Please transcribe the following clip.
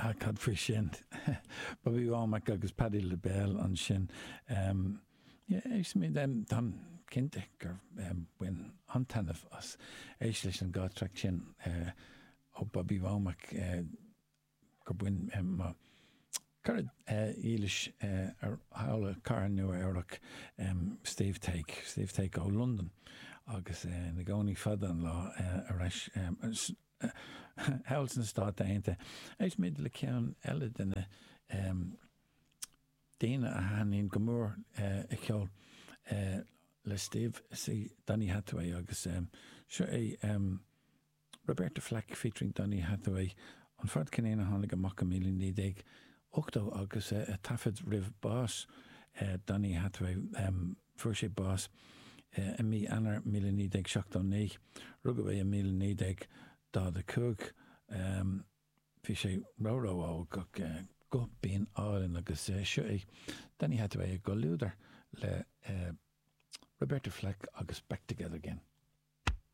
Ah, cad faoi sin? Bobby Womack agus Patti LaBelle ansin. Yeah, éistfimid, táim cinnte gur bhain an-taitneamh as éisteacht leis an dá traic sin ó Bobby Womack, gur bhain mo chara dhílis thall i gcathair Nua Eabhrac, Steve Take, Steve Take ó Londain agus ina gcónaí fada an lá ar ais thall sna Stáit Aontaithe. Éistfimid le ceann eile de na daoine a thaitníonn go mór a cheol le Steve, is é Donny Hathaway agus seo é Roberta Flack featuring Donny Hathaway, an fad ceirnín a tháinig amach i 1980 agus a taifead roimh bás Donny Hathaway. Fuair sé bás i mí Eanáir 1979. Rugadh é i 1945. Bhí sé ró-ró-óg ach guth binn álainn agus seo é Donny Hathaway i gcomhluadar le Roberta Flack agus Back Together Again.